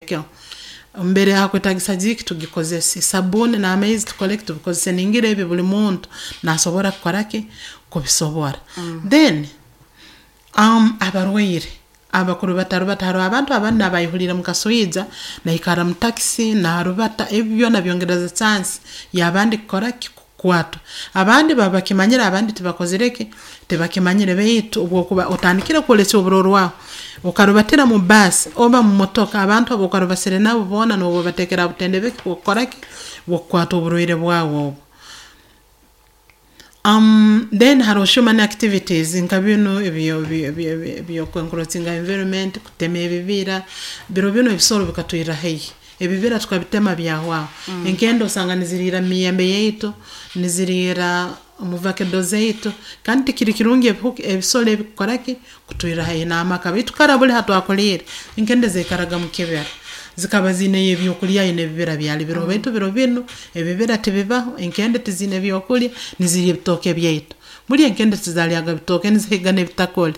Tutekeho mbere hakwetagisa Jik tugikozese, sabuuni n'amaizi tukole ki, tubikozese. Ningira ebi buli muntu nasobora kukora ki, kubisobora. Then abarwaire abakurubatarubata, haroho abantu abandi naaba ayehuliire mu kaswija, naikara mu taxi, naarubata, ebi byoona byongereza chance y'abandi kukora ki, kukwatwa. Abandi baba bakimanyire, abandi tibakozire ki, tibakimanyire, baitu obu okuba otandikire kwolekya oburorwaho, okarubatira mu bus oba mu motoka, abantu abu okarubasire nabo boona nooba obateekere ha butende ki, bw'okukora ki, bw'okukwatwa oburwaire bwawe obu. Then haroho human activities nka binu eby'oku encroachinga environment, kutema ebibira, biro binu ebisoro bikatwirra haihi, ebibira tukabitema byahwaho, enkende osanga niziriira mu miyembe yaitu, niziriira mu vakedo zaitu, kandi tikiri kirungi ebihuka, ebisoro ebi kukora ki, kutwirra haihi n'amaka. Baitu kara buli hatwakuliire, enkende zaikaraga mukibira, zikaba ziineyo ebyokulya n'ebibira byali biroho, baitu biro binu, ebibira tibibaho, enkende tiziine byokulya, nizirya ebitooke byaitu. Buli enkende tizalyaga bitooke, nizihiga n'ebitakuli,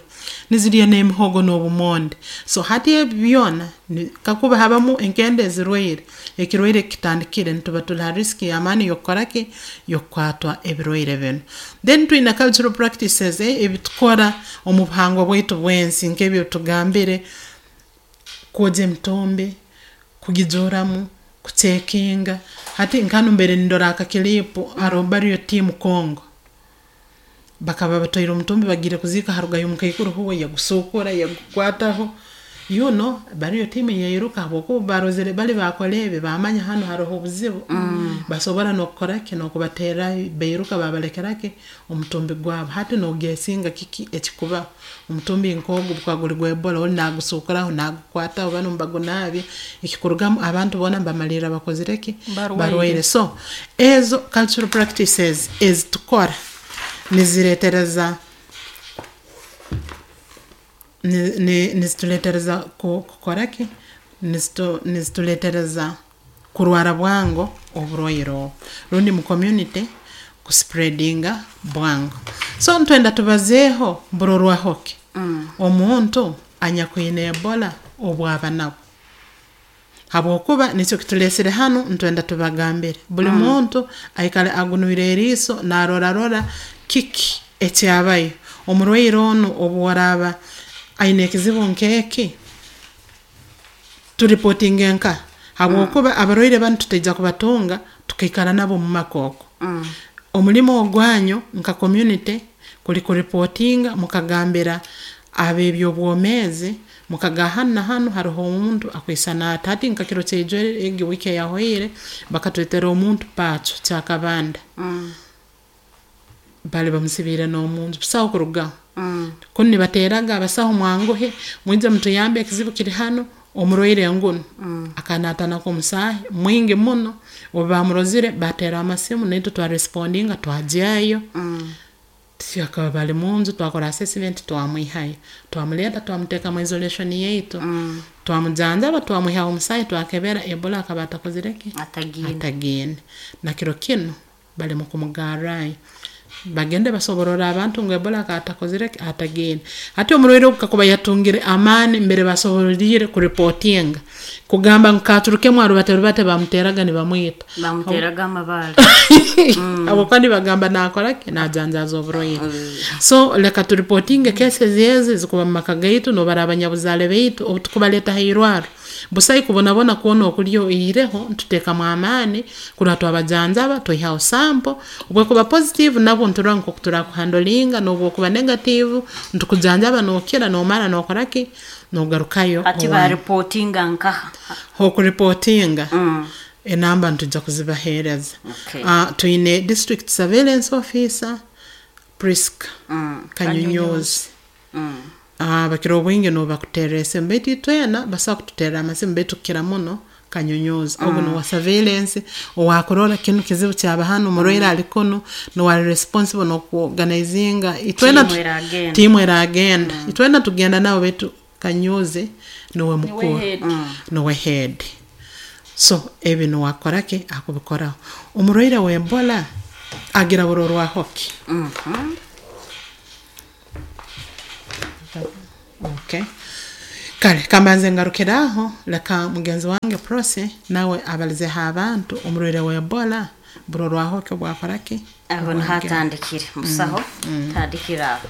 nizirya n'emihogo n'obumonde. So hati ebi byoona, kakuba habamu enkende ezirwaire, ekirwaire kitandikire, nituba tuli ha risk y'amaani y'okukora ki, y'okukwatwa ebirwaire binu. Then twine cultural practices, ebitukora omu buhangwa bwaitu bw'ensi nk'ebi ebitugambire, kwogya emitumbi, kugijuuramu, kucheckinga. Hati nka hanu mbaire nindora aka clip, haroho burial team Congo, bakaba batwaire omutumbi bagiire kuziika, harugayo omukaikuru huwe yagusuukura, yagukwataho, burial team yairuka habwokuba obu barozere bali baakora ebi, baamanya hanu haroho obuzibu, basobora n'okukora ki, n'okubaterrayo, bairuka baabalekera ki, omutumbi gwabo. Hati noguessinga kiki ekikubaho, omutumbi nk'ogu obu gukuba guri gwa Ebola, oli nagusuukuraho, nagukwataho, banu nibagunaabya, ekikurugamu abantu boona nibamalirra bakozire ki, barwaire. So ezo cultural practices ezitukora nizireetereza, nizitureetereza kukora ki, nizitureetereza kurwara bwango oburwaire obu, rundi mu community kuspreadinga bwango. So nitwenda tubazeeho burorwaho ki, omuntu anyakwine Ebola obu aba nabwo, habwokuba nikyo kituleesere hanu, nitwenda tubagambire, buli muntu aikale agunwire eriiso naarora rora kiki ekyabayo, omurwaire onu obu araaba aine ekizibu nk'eki, tureportinge nkaha, habwokuba abarwaire banu tutaija kubatunga tukaikara nabo mumaka oku. Omulimo ogwanyu nka community kuli kureportinga mukagambira ab'eby'obwomeezi, mukagamba hanu na hanu haroho omuntu akwisana ati. Hati nka kiro kyaijo egi week eyahoire, bakatwetera omuntu Pacho Kyakabanda, bali bamusibiire n'omunju, busaho kurugaho. Kunu nibateeraga abasaho, mwanguhe mwije mutuyambe, ekizibu kiri hanu, omurwaire ngunu. Akaba naataanako omusaahi mwingi muno. Obu baamurozire, baateera amasimu, naitwe twarespondinga twagyayo. Akaba bali munju, twakora assessment, twamwihayo, twamuleeta, twamuteeka mu isolation yaitu, twamujanjaba, twamwihaho omusaahi, twakebera, Ebola akaba atakozire ki? Atagiine. Atagiine. Na kiro kinu bali mu kumugarrayo, bagende basobororre abantu ngu Ebola akaba atakozire ki, atagiine. Hati omurwaire ogu kakuba yatungire amaani mbere basoboleriire kureportinga, kugamba ngu katurukemu arubate rubate, bamuteeraga nibamwita. Bamuteraga amabaale. Habwokuba nibagamba naakora ki, najanjaaza oburwaire. So leka tureportinge cases ezi ezikuba mu maka gaitu, nobaraba abanyabuzaare baitu, obu tukubaleeta ha irwarro, busaho kubonabona kwona okulyo oihireho nituteekamu amaani kurora twabajanjaba, twaihaho sample, obu ekuba positive nabwo niturora nk'oku turakuhandlinga, n'obu okuba negative nitukujanjaba nookira, noomara nookora ki, nogarukayo Hati owanyu. Bareportinga nkaha? H'okureportinga, enamba nitujja kuzibaheereza. Twine district surveillance officer Priska Kanyunyuzi. Bakira obwingi nibo bakuterra esimu, baitu itwena basobola kututerra amasimu, baitu kukira muno Kanyunyuzi. Ogu nuwe wa surveillance, owaakurora kinu kizibu kyaba hanu, omurwaire ali kunu, nuwe ali responsible n'okuorganizinga itwena. Tiimu eragenda. Tiimu eragenda. Itwena tugenda nabo, baitu Kanyuzi nuwe mukuru. Head. Nuwe head. So ebi nuwe akora ki, akubikoraho. Omurwaire wa Ebola agira burorwaho ki? Okay. Kale kambanze ngarukire aho, leka mugenzi wange Prossy nawe abalizeho abantu omurwaire wa Ebola burorwaho ki obwakora ki? Aho niho atandikire musaho, tandikira aho.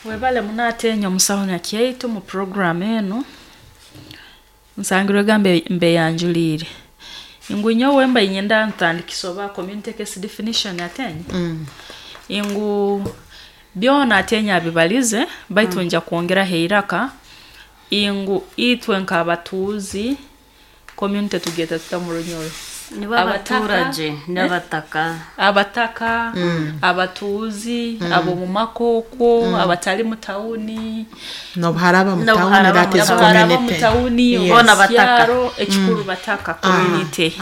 Webale muno atenya omusaho Nakyaitu mu program enu. Nsangirwega mbeyanjuliire. Ngu nyowe mba ninyenda ntandikise oba community case definition atenya. Ngu byona atenya abibalize, baitu nja kwongeraho eiraka ngu itwe nk'abatuuzi community tugyeta tuta mu Runyoro? Nibo abaturage n'abataka. Abataka, abatuuzi, ab'omu makooko, abatali mu tawuni. N'obuharaba mu tawuni, that is N'obuharaba mu community. tawuni, Yes. Boona bataka. kyaro, ekikuru bataka community.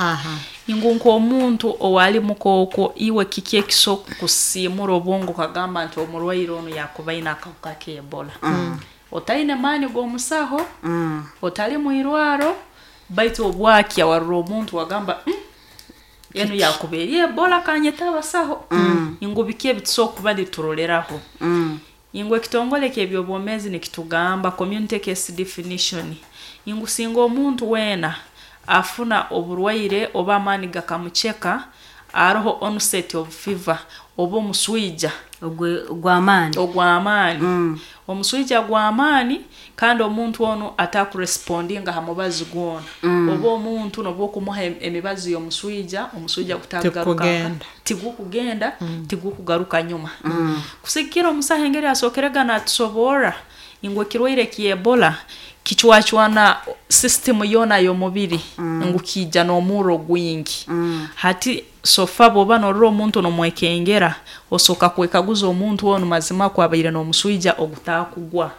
Ngu nk'omuntu owali mukooko, iwe kiki ekisobola kusiimura obwongo okagamba nti omurwaire onu yakuba aine akahuka ka Ebola? Otaine maani g'omusaho, otali mu irwaro, baitu obwakya warora omuntu wagamba enu yakuba eri Ebola, kanyete abasaho. Ngu biki ebitusobola kuba nituroreraho? Ngu ekitongole ky'ebyobwomeezi nikitugamba community case definition. Ngu singa omuntu weena afuna oburwaire oba amaani gakamuceka, aroho onset of fever oba omuswija Ogw'amaani. Ogw'amaani. Omuswija gw'amaani, kandi omuntu onu atakurespondinga ha mubazi gwona. Oba omuntu nobu okumuha emibazi y'omuswija, omuswija gutagaruka. Tikugenda. Tigukugenda, tigukugaruka nyuma. Kusigikira omusaho engeri asookerega natusoborra ngu ekirwaire kya Ebola kicwacwana system yoona y'omubiri, ngu kiija n'omurro gwingi. Hati sofa bw'oba norora omuntu nomwekengera, osooka kwekaguza omuntu onu mazima kwabaire n'omuswija ogutakugwa.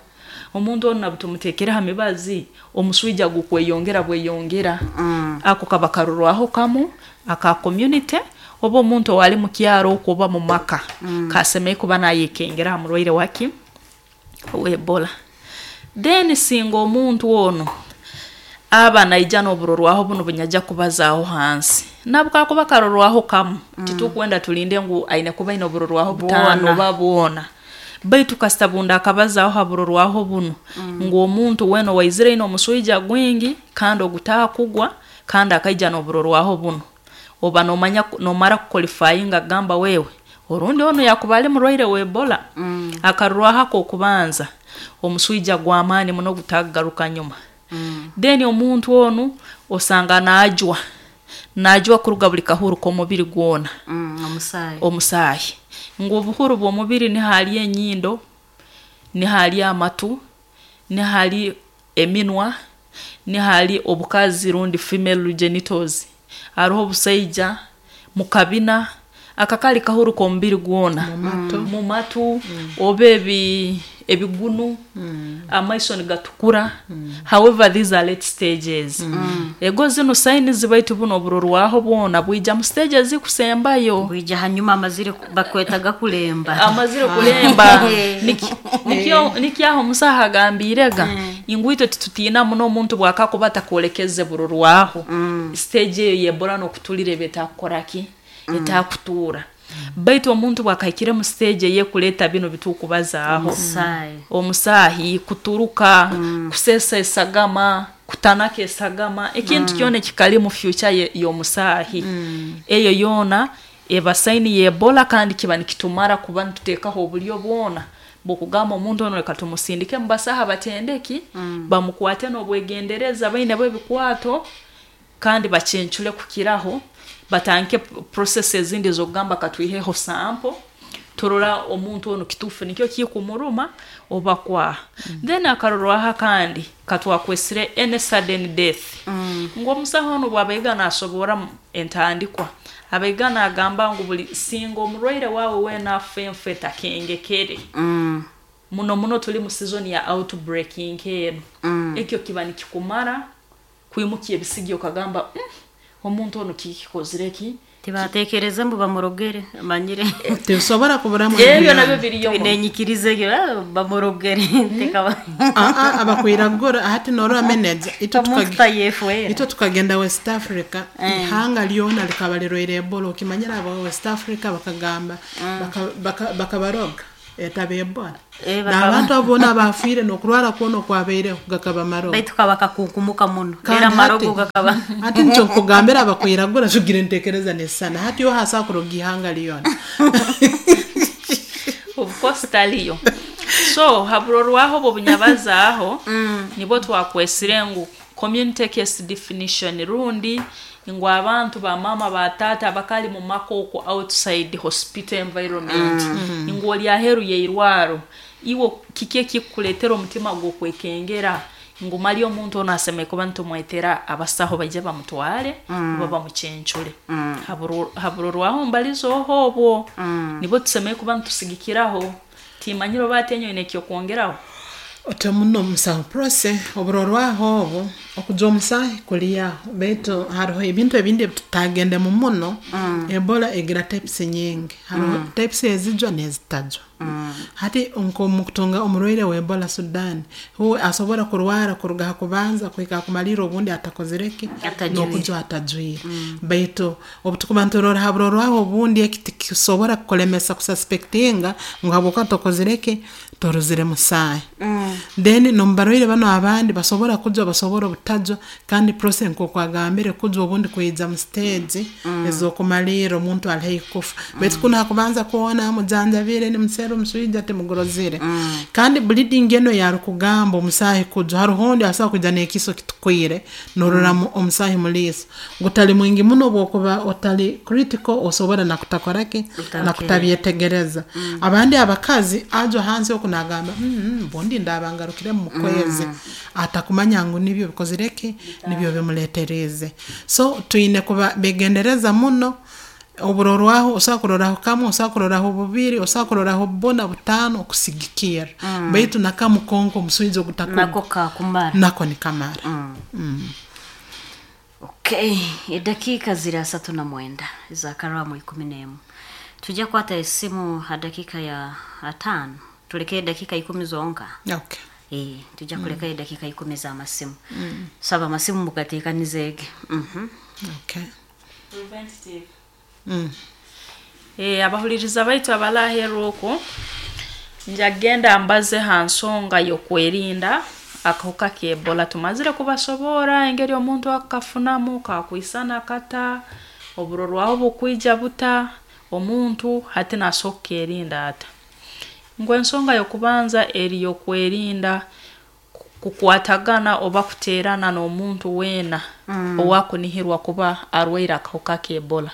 Omuntu onu nabu tumuteekere ha mibazi, omuswija gukweyongera bweyongera. Ako kaba karorwaho kamu aka community, oba omuntu owali mu kyaro okwo oba mu maka, kasemeriire kuba nayekengera ha murwaire waki owa Ebola. Then singa omuntu onu aba naija n'oburorwaho bunu bunyajja kubazaaho hansi, nabwo kakuba karorwaho kamu, titukwenda tulinde ngu aine kuba aine oburorwaho butaano oba bwona. Baitu kasita bundi akabazaaho ha burorwaho bunu, ngu omuntu weena owaizire aine omuswija gwingi kandi ogutakugwa kandi akaija n'oburorwaho bunu, oba nomanya nomara kuqualifyinga kugamba wewe orundi onu yakuba ali murwaire wa Ebola. Akarorwaho ak'okubanza, omuswija gw'amaani muno gutagaruka nyuma. Then omuntu onu osanga najwa, najwa kuruga buli kahuru k'omubiri gwona. Omusaayi. Omusaayi. Ngu obuhuru bw'omubiri nihali enyindo, nihali amatu, nihali eminwa, nihali obukazi rundi female genitals. Hariho obusaija mukabina, akakali kahuru k'omubiri gwona. Mu matu, oba ebigunu, amaiso nigatukura. However, these are late stages. Ego zinu signs, baitu buno oburorwaho bwona bwija mu stages zikusembayo. Bwija hanyuma amazire bakwetaga kulemba. Amazire kulemba. Nikyo aho omusaho agambirega ngu itwe titutiina muno omuntu bwakakuba atakwolekeze burorwaho. Stage eyo y'Ebola n'okutulira eba etakukora ki? Etakutuura. Baitu omuntu bwakahikire mu stage ey'ekuleta bino bitukubazaaho. Omusaayi. Omusaahi, kuturuka, kusesa esagama, kutanaka esagama, ekintu kyona ekikali mu future y'omusaahi. Eyo yoona eba sign y'Ebola, kandi kiba nikitumara kuba nituteekaho oburyo bwona bw'okugamba omuntu ono reka tumusindike mu basaha batendeki, bamukwate n'obwegendereza, baine bo ebikwato, kandi bacencure kukiraho, batandike process ezindi z'okugamba katwiheho sample, turora omuntu onu kituufu nikyo kikumuruma oba kwaha. Then akarorwaho kandi katwakwesire any sudden death. Ngu omusaho onu bw'abaiga nasobora entandikwa, abaiga nagamba ngu buli singa omurwaire wawe weena afa enfu etakengekere. Muno muno tuli mu season ya outbreak nk'eno. Ekyo kiba nikikumara kwimukia ebisigi okagamba omuntu onu kikikozire ki? Tibatekereze mbu bamurogere, amanyire. Tibisobora kuburamu. Ebyo nabyo biriyo. Nenyikirize egyo bamurogere tekaba. Abakwiragura hati norora manager itwe Omuntu tayefuera. Itwe tukagenda West Africa, ihanga lyona likaba lirwaire Ebola. Okimanyira aba West Africa bakagamba bakabaroga. Etaba Ebola. Eh, bakaba- N'abantu abo boona abafiire n'okurwara kwona okwabaireho gakaba marogo. Baitu kaba kakunkumuka muno. Kandi Era amarogo hati- gakaba. Hati nikyo nkugambira abakwiragura tugira entekereza nesisana. Hati yo hasa kuroga ihanga lyona. Of course taliyo. So haburorwaho obwo bunyabazaaho nibwo twakwesire ngu community case definition, rundi ngu abantu bamama batata bakali mu maka okwo outside hospital environment, ngu oli aheru yeirwaro, iwe kiki ekikukuletera omutima gw'okwekengera ngu mali omuntu ono asemeriire kuba nitumwetera abasaho baije bamutware oba bamucencure. Haburorwaho mbalizoho obwo nibwo tusemeriire kuba nitusigikiraho. Timanyire oba ati enyowe nekyokwongeraho. Otyo muno musaho Prose, oburorwaho obu okujwa omusahi kuliyaho, baitu hariho ebintu ebindi ebitutagendemu muno. Ebola egira types nyingi, hariho types ezijwa n'ezitajwa. Hati nk'omukutunga omurwaire wa Ebola Sudan, huwe asobora kurwara kuruga ha kubanza kuhika ha kumalirra, obundi atakozire ki? Atajwire. N'okujwa atajwire. Baitu obu tukuba niturora ha burorwaho obundi, eki tikisobora kukulemesa kususpectinga ngu habwokuba tokozire ki, torozire musaahi. Then n'omu barwaire banu abandi basobora kujwa, basobora obutajwa. Kandi process nk'oku agambire, kujwa obundi kwija mu stage ez'okumalirra, omuntu ali haihi kufa, baitu kunu hakubanza kwona mujanjabire nimusera omuswija timugurozire. Kandi bleeding eno yarukugamba omusaahi kujwa, haroho ondi asobora kwija n'ekiso kitukwire, norora omusaahi mu liiso gutali mwingi muno. Obwokuba otali critical, osobora nakutakora ki, nakutabyetegereza. Abandi abakazi ajwa hansi oku nagamba, bundi ndaba ngarukiremu mu kwezi," atakumanya ngu nibyo bikozire ki, nibyo bimuleteriize. So twine kuba begendereza muno. Oburorwaho osobola kuroraho kamwe, osobola kuroraho bubiri, osobola kuroraho buna, butaano okusigikirra, baitu nakamu konka omuswija ogutakuba Nako kakumara. Nako nikamara. Okay, edakiika ziri 39 zakarwamu 11. Tujja kwata esimu ha dakika ya 5, tuleke edakika 10 zonka. Okay. Eh, tujja kuleka edakika 10 z'amasimu. Saba amasimu mugateekanizeege. Okay. Preventative. Mm. Abahuliriza baitu abalaherwa okwo, njagenda mbaze ha nsonga y'okwerinda akahuka k'Ebola. Tumazire kubasobora engeri omuntu akafunamu, kakwisana kata, oburorwaho bukwija buta, omuntu hati nasobola kukerinda ata. Ngu ensonga y'okubanza eri y'okwerinda kukwatagana oba kuteerana n'omuntu weena owakunihirwa kuba arwaire akahuka k'Ebola.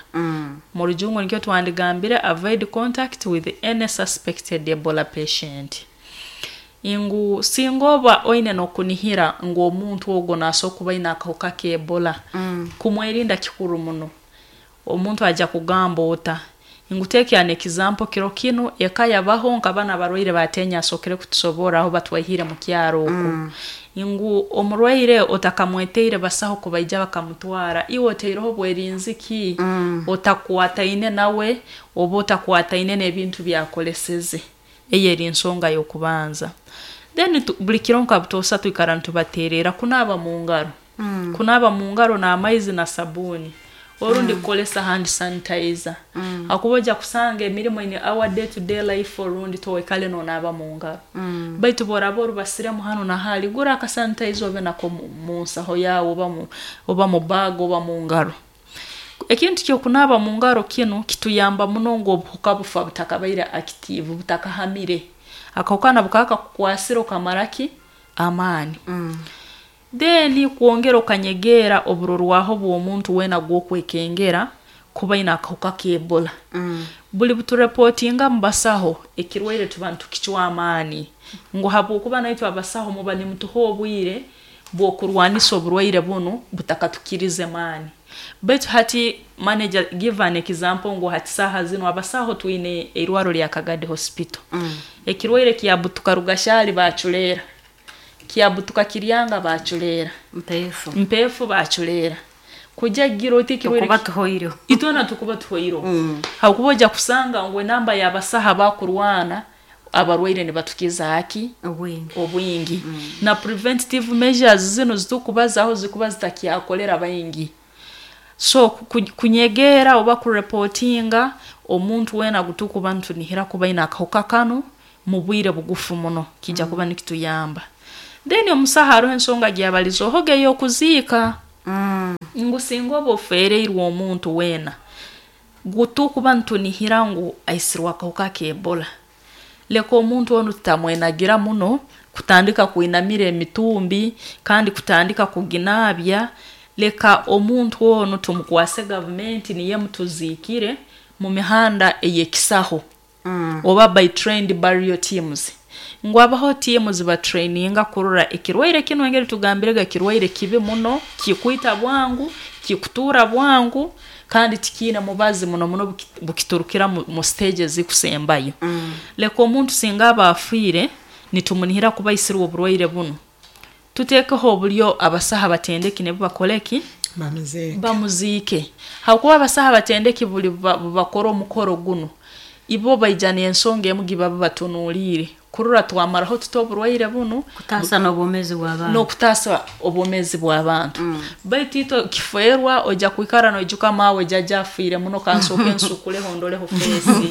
Mu rujungu nikyo twandigambire avoid contact with any suspected Ebola patient. Ngu singa oba oine n'okunihira ngu omuntu ogwo nasobola kuba aine akahuka k'Ebola, kumwerinda kikuru muno. Omuntu ajja kugamba ota ngu take an example, kiro kinu eka yabaho nkabana abarwaire batenya asokere kutusobora aho batwaihire mu kyaro oku, ngu omurwaire otakamweteire basaho kubaija bakamutwara, iwe oteireho bwerinzi ki otakwataine nawe oba otakwataine n'ebintu byakoleseze? Eyo eri ensonga y'okubanza. Then buli kiro nka butoosa twikara nitubateerera kunaaba mu ngaro, kunaaba mu ngaro n'amaizi na sabuuni, orundi kukolesa hand sanitizer, hakuba ojja kusanga emirimo in our day to day life, orundi toikale nonaaba mu ngaro, baitu bworaba orubasiremu hanu na hali, gura akasanitizer obe nako mu nsaho yawe oba mu bag oba mu ngaro. Ekintu kyokunaaba mu ngaro kinu kituyamba muno ngu obuhuka bufa butakabaire active, butakahamire. Akahuka nabwo kaba kakukwasire okamara ki amaani. Then kwongera okanyegeera oburorwaho bw'omuntu weena gw'okwekengera kuba aine akahuka k'Ebola. Buli buturepotinga mu basaho ekirwaire, tuba nitukicwa amaani, ngu habwokuba naitwe abasaho muba nimutuha obwire bw'okurwanisa oburwaire bunu butakatukirize maani. Baitu hati manager give an example ngu hati saaha zinu abasaho twine eirwaro lya Kagadi Hospital, ekirwaire kyabutuka Rugashali baculeera, kyabutuka Kiryanga baculeera, Mpeefu. Mpeefu baculeera, kujja gira oti ekirwaire Tukuba tuhoireho. Itwena tukuba tuhoireho, habwokuba ojja kusanga ngu enamba y'abasaho abakurwana abarwaire nibatukiza aki? Obwingi. Obwingi. Na preventative measures zino zitukubazaho zikuba zitakyakolera baingi. So kunyegeera oba kurepotinga omuntu weena gutukuba nitunihira kuba aine akahuka kanu. Mu bwire bugufu muno kijya kuba nikituyamba. Then omusaha haroho ensonga gyabalizohoga ey'okuziika, ngu singa oba ofeereirwe omuntu weena gutukuba nitunihira ngu aisirwe akahuka ka Ebola, leka omuntu onu tutamwenagira muno kutandika kwinamira emitumbi kandi kutandika kuginaabya. Leka omuntu onu tumukwase gavumenti niyo emutuziikire mu mihanda ey'ekisaho, oba by trained burial teams, ngu abaho tiimu zibatraininga kurora ekirwaire kinu. Engeri tugambirega, kirwaire kibi muno, kikwita bwangu, kikutuura bwangu, kandi tikiine mubazi, muno muno bukiturukira mu stage ezikusembayo. Leka omuntu singa aba afiire nitumunihira kuba aisirwe oburwaire bunu, tuteekeho obulyo abasaha abatendeki nibo bakole ki? Bamuziike. Bamuziike, habwokuba abasaha abatendeki buli bakora omukoro gunu, ibo baija n'ensonga emu gibaba batunuuliire kurora twamaraho tuta oburwaire bunu. Kutaasa n'obwomeezi bw'abantu. N'okutaasa obwomeezi bw'abantu. Baitu itwe kifeerwa ojja kwikara noijuka maawe jjajja afiire muno, kansooke nsukuleho ndoleho feesi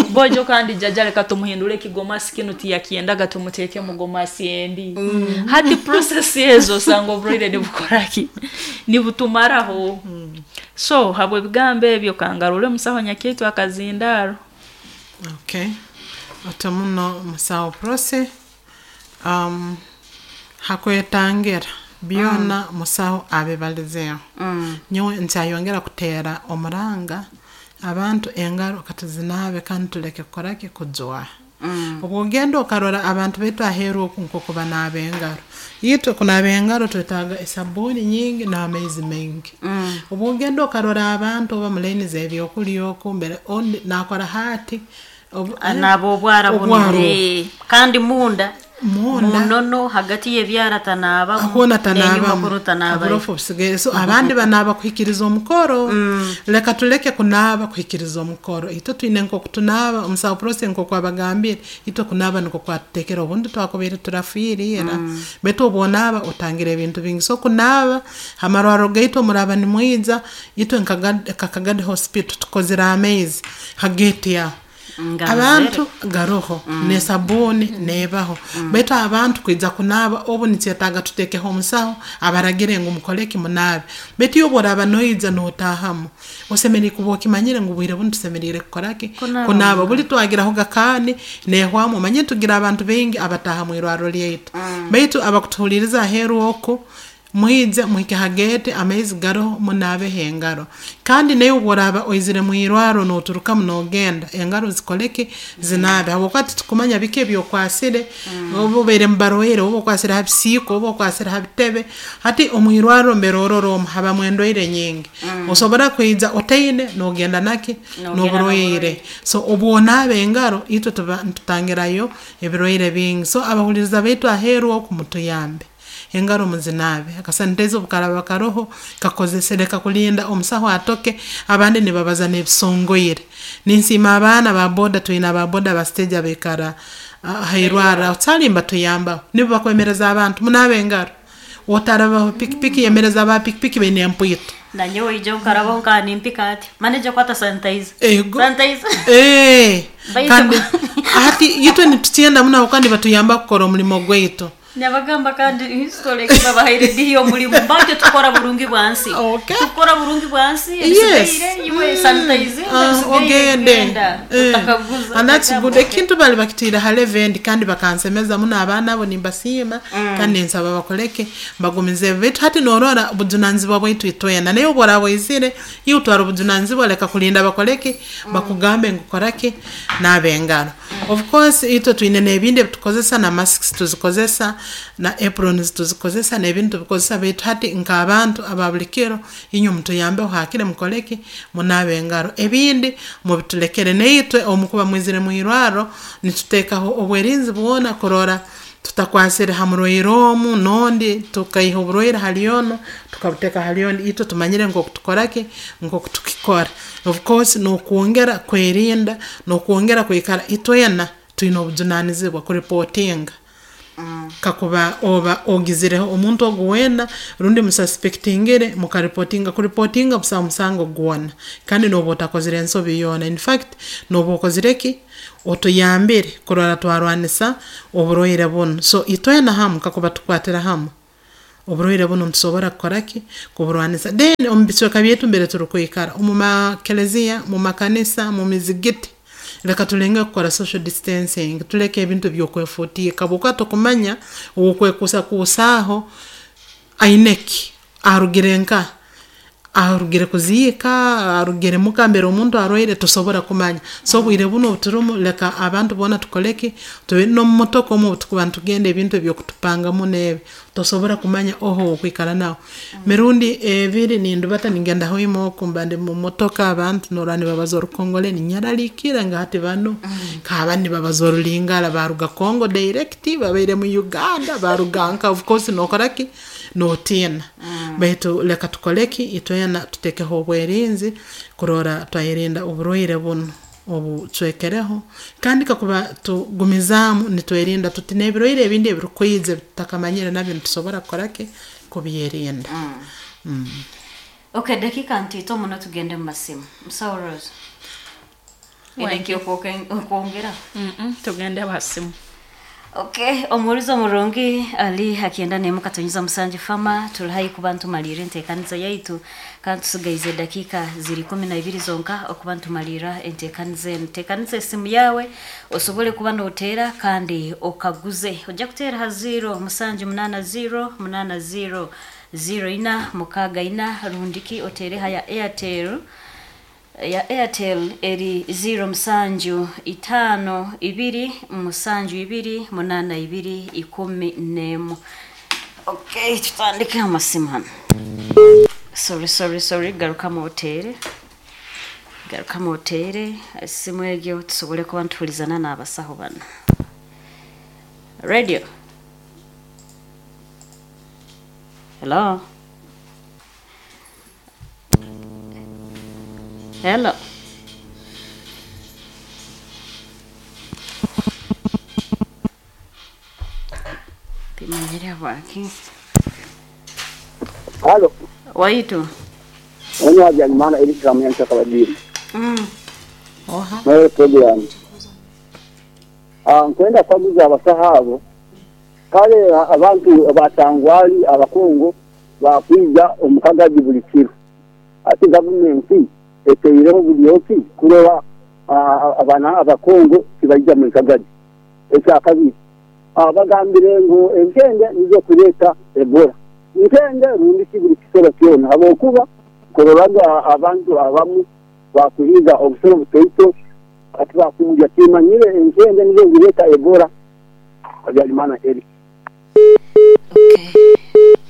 bojo, kandi jjajja leka tumuhindule ekigomasi kinu tiyakyendaga, tumuteeke mu gomasi endi. Hati process ezo osanga oburwaire nibukoraki? Nibutumaraho. So habw'ebigambo ebyo, kangarule musaho Nyakyaitu akazindaaro. Okay, ota muno musawo Prossy. Hakwetangira byona musaho abibalizeeho. Nyowe nkyayongera kuteera omuranga abantu, engaro katuzinaabe kandi tuleke kukoraki? Kujwaha. Obwogenda okarora abantu baitu aheeru oku nk'oku banaaba engaro, itwe kunaaba engaro twetaaga esabuuni nyingi n'amaizi maingi. Obwogenda okarora abantu oba mu layini z'ebyokulya oku mbere ondi nakora haati Anaaba obwara bunu. Obwara. Kandi munda Munda. Munono hagati y'ebyara tanaabamu. Hoona n'enyuma tanaabamu. kunu tanaabayo. Oburofu busigaire. So abandi banaaba kuhikiriza omukoro. Leka tuleke kunaaba kuhikiriza omukoro. Itwe twine nk'oku tunaaba, omusawo Prossy nk'oku abagambire, itwe kunaaba nikwo kwatutekera, obundi twakubaire turafiire ira. Baitu obu onaaba otangira ebintu bingi. So kunaaba hamarwarro gaitu omuraaba nimwija, itwe nka Kagadi Hospital tukozire amaizi ha gate aho. Ngaro. Abantu garoho n'esabuuni neebaho, baitu abantu kwija kunaaba obu nikyetaaga tuteekeho omusaho abaragire ngu mukoleki? Munaabe. Baitu iwe obu oraaba noija nootaahamu, osemeriire kuba okimanyire ngu bwire bunu tusemeriire kukoraki? Kunaaba. Kunaaba. Buli twagirahoga kaani neehwamu, omanyire tugira abantu baingi abataaha mu irwarro lyaitu. Baitu abakutuhuliiriza aheeru oku, mwije muhike ha gate, amaizi garoho, munaabeho engaro. Kandi naiwe obu oraaba oizire mu irwarro nooturukamu noogenda, engaro zikoleki? Zinaabe, habwokuba titukumanya biki ebyokwasire obu obaire mubarwaire, oba okwasire ha bisiika oba okwasire ha bitebe. Hati omu irwarro mbere orora omu habamu endwaire nyingi, osobora kwija otaine noogenda naki? Noogenda. N'oburwaire. So obu onaaba engaro, itwe tuba nitutangirayo ebirwaire bingi. So abahuliiriza baitu aheeru oku, mutuyambe, engaro muzinaabe, akasanitizer obu karaaba karoho kakozese, leka kulinda omusaho atoke. Abandi nibabaza n'ebisongoire. Ninsiima abaana ba boda, twine aba boda ba stage abaikara hairwarro aho, kyali nibatuyambaho, nibo bakwemereza abantu, munaabe engaro. Otarabaho pikipiki, yemereza aba pikipiki baine empwito. Nanyowe ijo nkarabaho nka nimpika ati manager, kwata sanitizer. Ego. Sanitizer. Kandi hati itwe nitukyenda muno habwokuba nibatuyamba kukora omulimo gwaitu. Nabagamba kandi hisitole babahaire dihi omulimu batyo, tukora burungi bwansi. Tukora burungi bwansi. Ebisigaire iwe sanitizer. Ebisigaire ogende. genda utakaguza. And that's Utagamba, good. Ekintu bali bakitiire ha level endi, kandi bakansemeza muno abaana abo, nimbasiima kandi ninsaba bakoleke, bagumize. Baitu hati norora obujunanizibwa bwaitu itwena, naye obu oraaba oizire, iwe otwara obujunanizibwa, leka kulinda bakoleke, bakugambe ngu koraki? Naaba engaro. Of course itwe twine n'ebindi ebitukozesa, na masks tuzikozesa, na aprons tuzikozesa, n'ebintu tubikozesa, baitu hati nk'abantu aba buli kiro, inywe mutuyambeho hakire mukoleki? Munaabe engaro, ebindi mubitulekere. Naitwe omukuba mwizire mu irwarro, nituteekaho obwerinzi bwona kurora tutakwasire ha murwaire omu n'ondi, tukaiha oburwaire hali onu tukabuteeka hali ondi. Itwe tumanyire nk'oku tukoraki, nk'oku tukikora. Of course n'okwongera kwerinda n'okwongera kwikara, itwena twine obujunanizibwa kuripotinga. Kakuba oba ogizireho omuntu ogu weena rundi mususpectingire, mukaripotinga. Kuripotinga busaho musango gwona, kandi nooba otakozire ensobi yoona, in fact nooba okozire ki, otuyambire kurora twarwanisa oburwaire bunu. So itweena hamu kakuba tukwatira hamu, oburwaire bunu nitusobora kukora ki, kuburwanisa. Then omu bicweeka byaitu mbere turukwikara, omu makelezia, mumakanisa, mumizigiti, leka tulengeho kukora social distancing, tuleke ebintu ebyokwefuutiika habwokuba tokumanya owokwekuusakuusaaho ayine ki, arugire nkaha, arugire kuziika, arugire muka mbere omuntu arwiire, tosobola kumanya. So obwiire bunu obuturumu leka abantu boona tukore ki, tube nomumotoka omu obutukuba nitugenda ebintu ebyokutupangamu muno ebi, tosobola kumanya oha owokwikara nawe. Emirundi ebiri nindubata ningenda Hoima oku, mba ndi mumotoka abantu norora nibabaza orukongole, ninyerariikiirra nga hati banu, nk'abandi nibabaza orulingara, baruga Congo direct, babaire mu Uganda, baruga nkaha, of course nokora ki, notiina. Baitu leka tukore ki, itweena tutekeho obwerinzi kurora twayerinda oburwiire bunu obucwekereho, kandi kakuba tugumizaamu nitwerinda tuti, nebirwiire ebindi ebirukwiija ebitutakamanyire nabyo nitusobola kukora ki, kubyerinda. Okay, dakiika ntiito muno tugende mumasimu. Musawo Rose, oine Wangi. ekyokwongeraho? Tugende ha simu. Okay, omuhuriza omurungi ali ha kyenda n'emu katonyeza musanju fama, turi haihi kuba ntumaliira enteekaniza yaitu kandi tusigaize edakiika ziri ikumi na ibiri zonka okuba ntumaliira enteekaniza enu. Teekaniza esimu yaawe osobole kuba nooteera kandi okaguze. Ojja kuteera ha 0 musanju munaana 0 munaana 0 0 ina mukaaga ina rundi ki oteere ha ya Airtel. Ya Airtel eri 0 musanju itaano ibiri musanju ibiri munaana ibiri ikumi n'emu. Okay, tutandike amasimu hanu. Sorry, sorry, sorry, garukamu oteere. Garukamu oteere esimu egyo tusobole kuba nituhurizana n'abasaho banu. Radio. Hello. Hello. Timanyire habwaki. Halo, Waitu. onye Habyarimana Eric Kamuyanza Kabadiri. Oha. Nawe program. Nkwenda kwaguza abasaho abo kale abantu abatangwali abakungu bakwija omu Kagadi buli kiro, ati gavumenti eteireho buli oki kurora abana abakungu tibaija muri Kagadi. Ekyakabiri, bagambire ngu enkende nizo kureeta Ebola. Nkende rundi ki buli kisoro kyona, habwokuba kuroraga abantu abamu bakuhiiga obusoro butoito ati bakuburya, timanyire enkende nizo zireeta Ebola. Habyarimana Eric. Okay.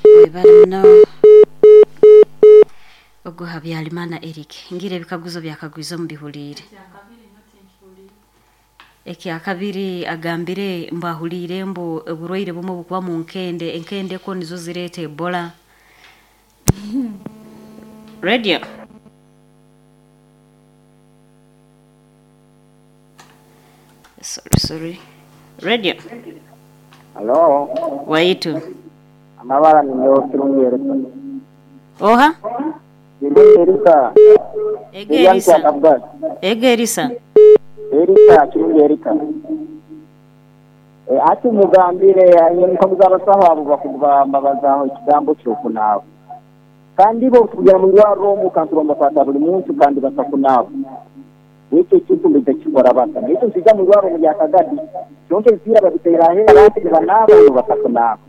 Webale muno. Ogwo Habyarimana Eric. Ngira ebikaguzo byakagwize omu bihuliire. Ekyakabiri agambire mbu ahuliire mbu oburwaire bumwe bukuba mu nkende, enkende ko nizo zireeta Ebola. Radio. Sorry, sorry. Radio. Halo, Waitu. amabara ni Kirungi Erika. Oha? Kirungi Erika. Ege Erisa. Ege Erisa. Erika, Kirungi Erika. Ati mugambire nkaguza abasaho abo bakugamba bazaho ekigambo ky'okunaaba. Kandi bo kugera mu rwariro omu kantu bamukwata buli muntu kandi batakunaaba. Ekyo ekintu mbitakikora bata. Ekyo nsija mu rwariro mu Kagadi. Kyonka ebipiira babiteera aheeru abantu nibanaaba bo batakunaaba.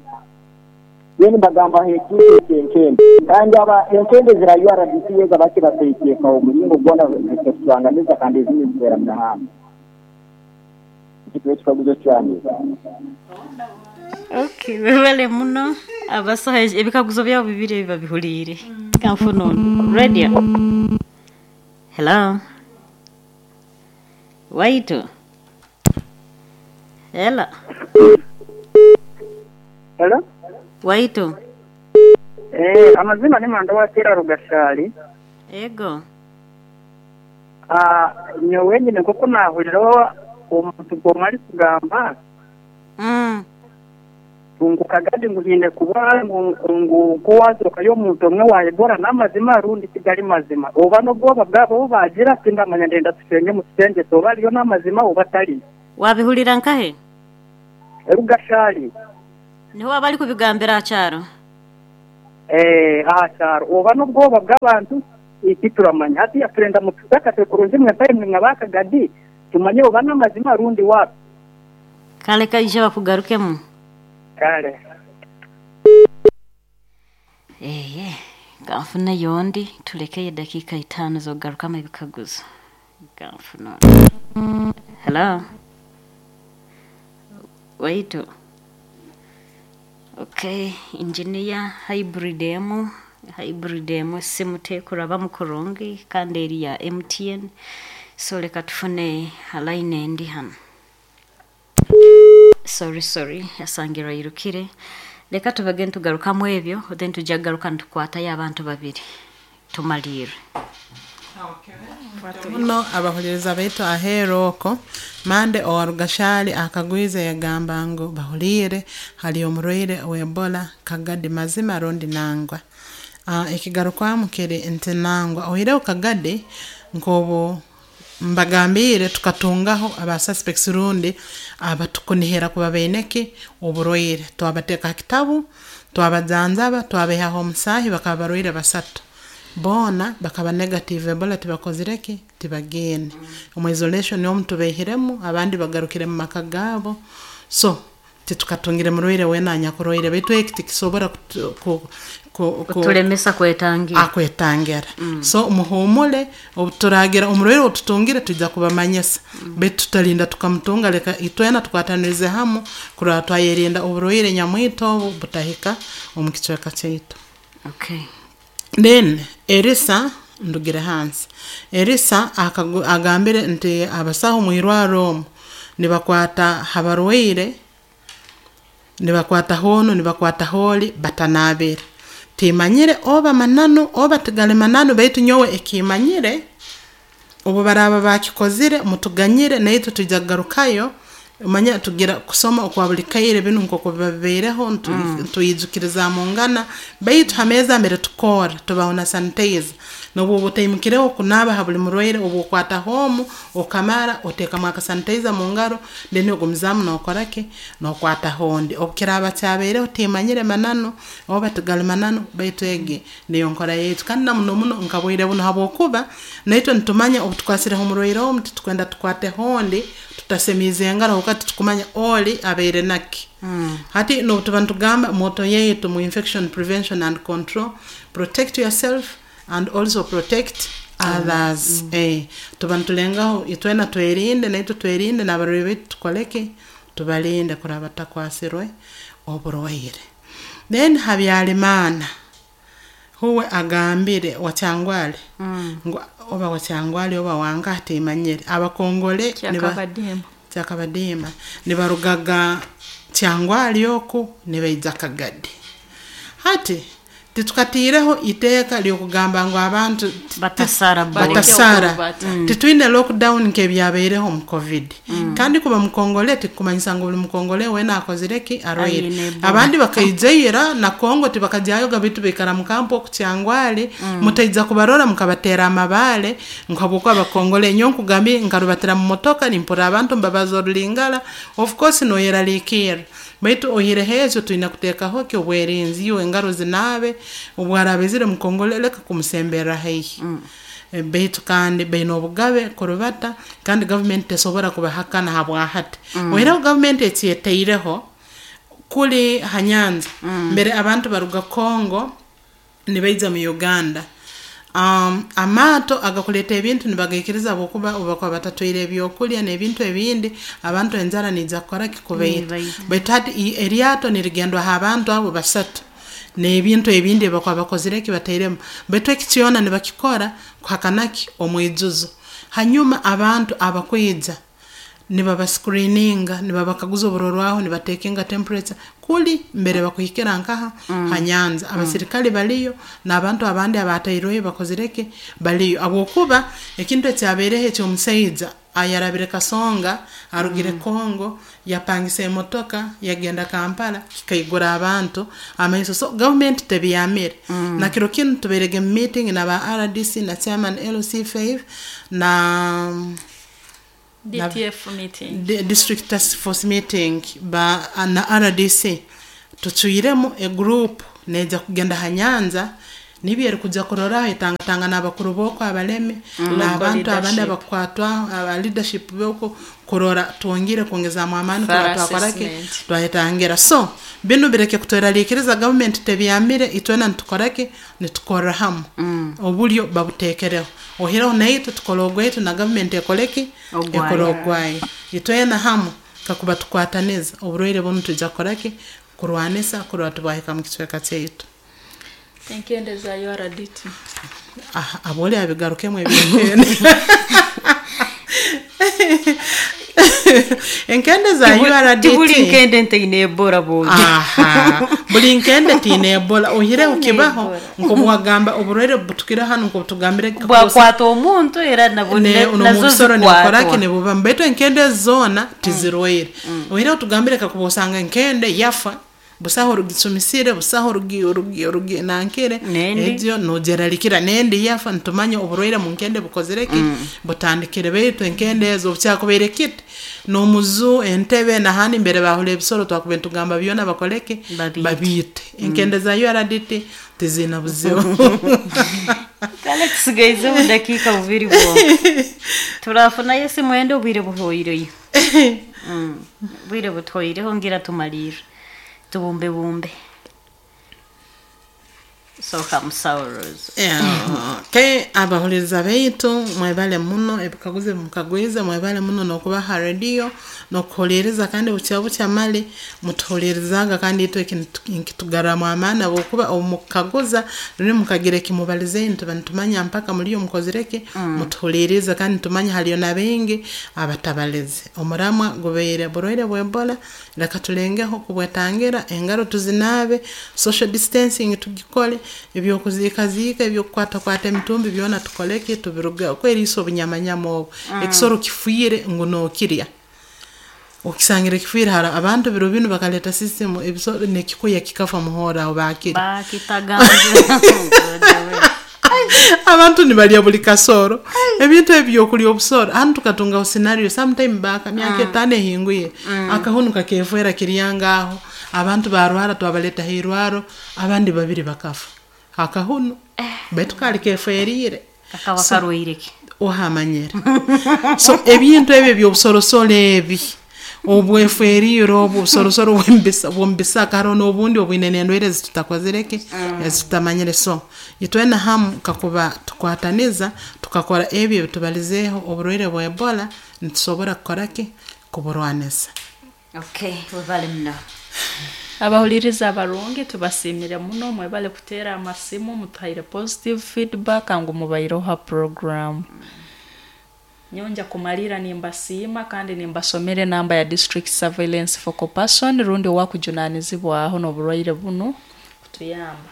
Then mbagamba ekintu ekyenkende. Kandi aba enkende zira URDC yeza baki bateekeka omulingo gwona zikaturanganiza kandi ezindi zibeera mu mahanga. Ekyo ekikaguzo kyange. Okay, webale muno. Abasaho ebikaguzo byabo bibiri ebi babihuliire. Kanfuna ono. Radio. Hello. Waitu. Hello. Hello? Waitu. Amazima ni Manda wa Tera Rugashali. Ego. Nyowe nyine kuko nahuriraho omuntu gwomwe ari kugamba. Ngu Kagadi ngu hiine kuba ngu nkuwazokayo omuntu omwe wa Ebola n'amazima rundi tigali mazima. Oba n'obwoba bwabo obu bagira tindamanya, ndenda tushenye mutushengyese oba ariyo n'amazima oba tari. Wabihulira nkahe? Rugashari. Niho abari kubigambira aha kyaro. Aha kyaro oba n'obwoba bw'abantu tituramanya. Hati turenda mutusakase kurungi mwe mpaye mwe ba Kagadi tumanye oba n'amazima rundi wapi. Kale kaije bakugarukemu. Kale. Eye, kanfune yondi tulekeye dakika 5 zokugarukamu ebikaguzo. Kanfuna. Hello. Waitu. Okay, engineer hybrid emu hybrid emu simu tekuraba mukurungi kandi eri ya MTN. So leka tufune line endi hano. Sorry, yasangira yirukire. Leka tubage ntugarukamu ebyo, then tujja kugaruka nitukwatayo abantu babiri tumalire. Muno abahuliriza baitu aheeru oko mande owa Rugashari akagwize yagamba ngu bahuliire hali omurwaire wa Ebola Kagadi mazima rundi nangwa. Ekigarukwamu kiri nti nangwa. Oihireho Kagadi nk'obu mbagambiire tukatungaho aba suspects rundi abatukunihira kuba baineki oburwaire. Twabateeka ha kitabu, twabajanjaba, twabaihaho omusaahi bakaba barwaire 3. Boona bakaba negative Ebola tibakozireki tibageene. Omu isolation omu tubaihiremu abandi bagarukire mu maka gaabo. So titukatungire murwaire weena anyakurwaire baitu eki tikisobora kutulemesa kwetangira. Akwetangira. So muhumule obuturagira omurwaire otutungire tujja kubamanyisa. Baitu tutalinda tukamutunga, leka itwena tukwatanirize hamu kurora twayerinda oburwaire nyamwito obu butahika omu kicweka kyaitu. Okay. Then Erisa ndugire hansi. Erisa agambire nti abasaho mu irwaro omu nibakwata habarwaire, nibakwata hono, nibakwata holi batanabire. Timanyire oba mananu oba tigali mananu, baitu nyowe ekimanyire obu baraba bakikozire mutuganyire naitwe tujja kugarukayo. Manya tugira kusoma okwa buli kaire binu nk'oku biba bibaireho ntuyijukiriza mungana, baitu ha meeza mbere tukora tubaho na sanitizer. N'obu oba otaimukireho kunaaba ha buli murwaire, obu okwata hoomu okamara oteekamu aka sanitizer mu ngaro, then ogumizaamu nookora ki nookwata hondi. Obu kiraaba kyabaireho timanyire mananu oba tigali mananu, baitu egi niyo nkora yaitu. Kandi na muno muno nka bwire buno habwokuba naitwe nitumanya obu tukwasireho omurwaire omu titukwenda tukwate hondi tutasemiize engaro habwokuba titukumanya oli abaire naki. Hati n'obu tuba nitugamba moto yaitu mu infection prevention and control, protect yourself and also protect others. Tuba nitulengaho itwena twerinde, naitwe twerinde n'abarwaire baitu tukoleke tubalinde kuraba batakwasirwe oburwaire. Then Habyarimana huwe agambire Wakyangwale ngu oba Wakyangwale oba wanga timanyire abakongole Kyakabadiima nibarugaga Kyangwali oku nibaija Kagadi. Hati titukatiireho iteeka ly'okugamba ngu abantu batasara. Titwine lockdown nk'ebyabaireho omu COVID. Kandi kuba mukongole tikumanyisa ngu buli mukongole weena akozireki arwaire. Abandi bakaijaira na Kongo tibakajyayoga baitu baikara mu kampu oku Kyangwali, mutaija kubarora mukabateera amabaale ngu habwokuba bakongole. Nyowe nkugambire nkarubatira mu motoka nimpurra abantu mbabaza orulingara, of course noyeraliikirra. Baitu oihireho ekyo twine kuteekaho ki obwerinzi, iwe engaro zinaabe, obwaraaba mukongole leka kumusemberra haihi. Baitu kandi baine obugabe kurubata, kandi gavumenti tesobora kubahakana habwahati. Oihireho gavumenti ekyetaireho kuli ha nyanja, mbere abantu baruga Kongo nibaija mu Uganda. Amaato agakuleeta ebintu nibagaikiriza habwokuba obu bakuba batatwaire ebyokulya n'ebintu ebindi, abantu enjara niija kukora ki kubaita. Baitu hati eryato nirigendwaho abantu abo 3 n'ebintu ebindi ebi bakuba bakozire ki batairemu. Baitu eki kyona nibakikora kuhakanaki omwijuzo. Hanyuma abantu abakwija Nibabascreeninga, nibabakaguza oburorwaho, nibatekinga temperature kuli mbere bakuhikira nkaha ha nyanza. Abasirikale baliyo n'abantu abandi abatairweyo bakozireki baliyo, habwokuba ekintu ekyabaireho eky'omusaija ayarabire Kasonga arugire Congo yapangisa emotoka yagenda Kampala, kikaigura abantu amaiso. So gavumenti tebyamire. Na kiro kinu tubairege mu meeting na ba RDC na chairman LC5 na DTF meeting. District task force meeting ba na RDC, tucwiremu egroup neja kugenda ha nyanza nibyo erikuja kuroraho, etangatanga n'abakuru b'oko abalemi n'abantu abandi leadership. Abakukwatwaho aba leadership b'oko, kurora twongere kwongezamu amaani kurora Thorough twakoraki assessment. Twayetangira. So binu bireke kutweraliikiriza, gavumenti tebyamire. Itwena nitukoraki, nitukorra hamu, obulyo babuteekereho, ohireho naitwe tukole ogwaitu na gavumenti ekoleki. Ogwayo. Ekole ogwayo. Itwena hamu kakuba tukwataniza, oburwaire bunu twija kukoraki, kurwanisa kurora tibwahika mu kicweka kyaitu. Enkende za URDT. Aha, aboli abigarukemu ebyenkende, enkende za URDT. Tibuli nkende ntaine Ebola bojo. Aha, buli nkende tiine Ebola, ohireho Tiine kibaho Ebola. nk'obwagamba oburwaire butukire hanu nk'obutugambire. Bwakwata omuntu era nabo nazo Nomubisoro nibukoraki, zikwatwa. nibuba, baitu enkende zoona tizirwaire. Ohireho tugambire kakuba osanga enkende yafa, busaho orugicumisire, busaho orugi orugi orugi nankire. Nendi. Egyo nogeralikira nendi yafa, nitumanya oburwaire mu nkende bukozireki, butandikire. Baitu enkende ezo obukyakubaire kiti n'omuzu entebe nahandi mbere bahura ebisoro, twakuba nitugamba byona bakoleki. Babiite. Babiite. Enkende za URDT tiziina buzibu. Kale tusigaize obudakiika bubiri bwonka, turafunayo esimu ende, obwire buhoireyo. Obwire butuhoireho, ngira tumalirre tubumbe bumbe. Soka musawo Rose. Okay, abahuliriza baitu mwebale muno ebikaguzo ebimukagwize, mwebale muno n'okuba ha rediyo n'okuhuliiriza, kandi bukya bukya mali mutuhuliirizaaga, kandi itwe eki nkitugarramu amaani, habwokuba obu mukukaguza ruli mukagira ekimubalizeyo, nituba nitumanya mpaka muliyo mukozireki, mutuhuliirize. Kandi nitumanya haliyo na baingi abatabalize. Omuramwa gubaire burwaire bwa Ebola, leka tulengeho kubwetangira, engaro tuzinaabe, social distancing tugikole, ebyokuziikaziika, ebyokukwatakwata emitumbi byona tukoleki, tubirugeho, kweriisa obunyamanyama obu. Ekisoro kifiire ngu nookirya, okisangire kifiire. Hara abantu biro binu bakaleta system, ebisoro nekikuya kikafa muhoora aho bakirya. Bakitaganza. Abantu nibalya buli kasoro, ebintu ebi byokulya obusoro. Hanu tukatungaho scenario sometime back, myaka 5 ehingwire, akahunu kakefwera kiryanga aho, abantu barwara, twabaleta hairwaro, abandi babiri bakafa akahunu, baitu kali kefwerire. Kakaba So, karwaireki? Ohamanyire. So ebintu ebyo ebyobusorosoro ebi obwefwerire, obu obusorosoro bwomubisaka, hariho n'obundi obwine n'endwaire ezitutakozireki, ezitutamanyire. So itwena hamu kakuba tukwataniza tukakora ebyo ebitubalizeeho, oburwaire bwa Ebola nitusobora kukoraki, kuburwanisa. Okay, webale muno. Abahuliriza abarungi, tubasiimire muno, mwebale kuteera amasimu, mutuhaire positive feedback ngu mubaireho ha program. Nyonja kumalira nimbasiima kandi nimbasomera enamba ya district surveillance focal person rundi owakujunanizibwaho n'oburwaire bunu kutuyamba.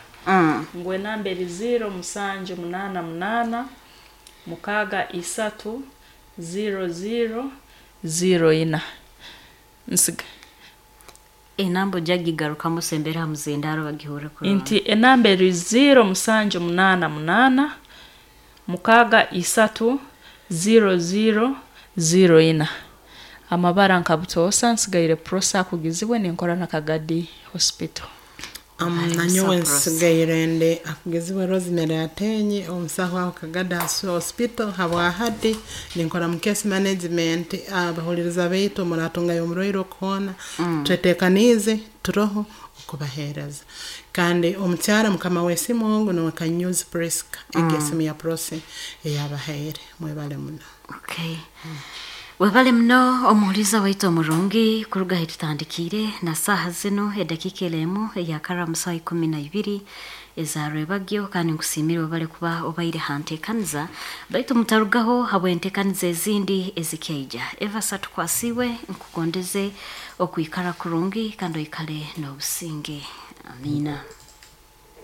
Ngu enamba eri 0788 63 00 04. Nsiga Enamba ojagigarukamu, sembera ha muzindaro bagihure kurungi. Nti enamba eri 0788 63 00 04. Amabara nka butoosa nsigaire Prosa akugizibwe, ninkora na Kagadi Hospital. Nanyowe Prosa. Nsigaire ndi akugizibwe Rosemary Atenyi, omusaho aho Kagada Hospital. Habwahati ninkora mu case management. Abahuliriza baitu muratungayo omurwaire okuhoona, twetekaniize, turoho okubaheereza. Kandi omukyara mukama w'esimu ogu niwe Kanyuzi Priska, egi esimu ya Prosi eyabahaire. Mwebale muno. Okay. Webale muno omuhuliza waitu omurungi, kuruga ahi tutandikiire na saaha zino edakiika eremu eyakara mu saaha 12. Eza Rwebagyo, kandi nkusiimire webale kuba obaire ha nteekaniza, baitu mutarugaho habw'enteekaniza ezindi ezikyaija. Eva Satukwasiibwe, nkugondeze okwikara kurungi kandi oikale n'obusinge. Amiina.